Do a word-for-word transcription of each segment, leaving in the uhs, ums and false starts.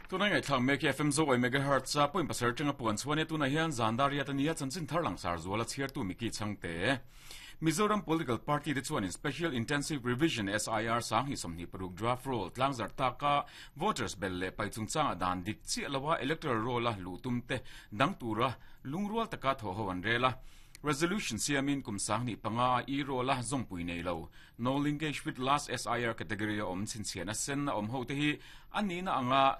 Tunai ngai thlang mek F M zo megahertz a point pasar tanga puan chuan tuna hian zandaria tania chanchin tharlang sar zuala chhiartu miki changte Mizoram Political Party te chuan in Special Intensive Revision S I R sang hi somni paruk draft roll tlangzar taka voters bel le pai chungchang dan dik chi lawa electoral roll a lutum te dangtura lungrual taka tho ho an rela Resolution siamin kumsang ni panga e roll a zongpui nei lo no linkage with last S I R category om chinchian a sen om ho te hi ani na anga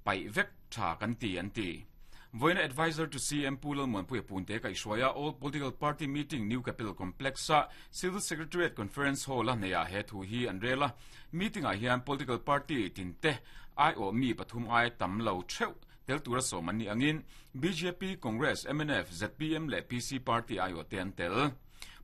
pai vek tha kan ti an ti Voina advisor to C M Pulal Monpui Punte ka ishwaya all political party meeting New Capital Complex a Civil Secretariat Conference Hall a neya he thu hi an rela meeting a hian political party tinte I O mi pathum ai tam lo theu tel tura somani angin B J P Congress M N F Z P M le P C party I O te an tel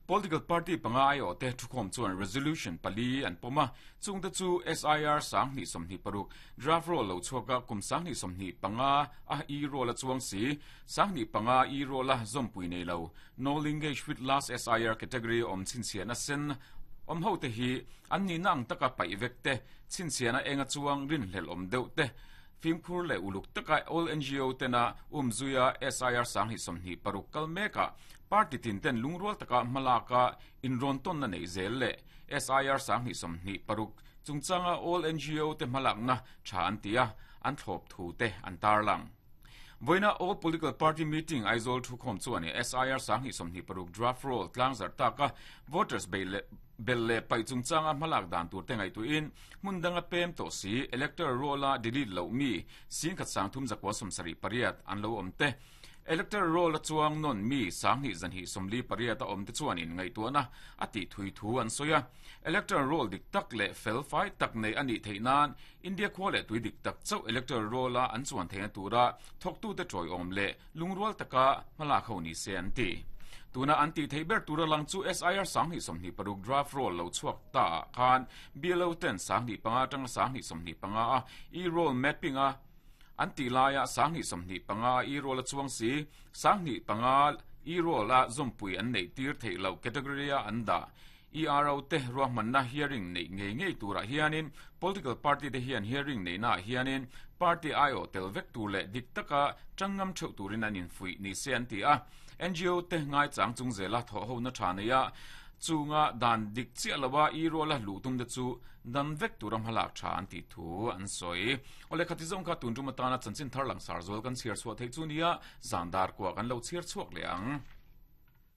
Political party panga I O te thukhom chuan resolution pali an poma chungte chu S I R sang ni somni paruk draft roll lo chuaka kum sang ni somni panga a e roll a chuang si sang ni panga e roll a zompui nei lo no linkage with last S I R category om chinchian a sen om ho te hi an ni nang taka pai vekte chinchian a enga chuang rin hlel om deuh te Fimkhur le uluk taka all N G O tena umzuya S I R sang hi somni paruk kalmeka party tin ten lungrual taka malaka inron ton na nei zel le S I R sang hi somni paruk chungchanga all N G O te malak na tha an tia an thlop thu te an tarlang Voina all political party meeting Aizawl thukhom chuan S I R sang hi somni paruk draft roll tlangzar taka voters bele belle pai chungchanga malak dan tur te ngai tu in mundanga pem to si electoral roll a delete lo mi sing khat sang thum zakwa somsari pariat an lo om te electoral roll a chuang non mi sang ni zan hi somli pariat a om te chuan in ngai tu na ati thui thu an soya electoral roll dik tak le fel fai tak nei ani theinan India khwale tui dik tak chau electoral roll a an chuan theina tura thok tu te troi om le lungrual taka mala kho ni se an ti tuna anti theiber tura lang chu S I R sang ni somni paruk draft roll lo chuak ta khan B L O ten sang ni panga tang sang ni somni panga a e roll mapping a anti laya sang ni somni panga e roll a chuang si sang ni panga e roll a zompui an nei tir thei lo category a anda E R O te ruahman na hearing nei ngei ngei tura hianin political party te hian hearing nei na hianin party I O tel vek tu le dik taka changam theu turin an in fui ni se an ti a N G O te ngai chang chung zela tho ho na thana ya chunga dan dik chi alawa e roll a lutum de chu dan vek turam halak tha an ti thu an soi ole khati zong kha tun tu matana chanchin tharlang sar zol kan chiar chhuak thei chu nia zandar kwa kan lo chiar chhuak leang.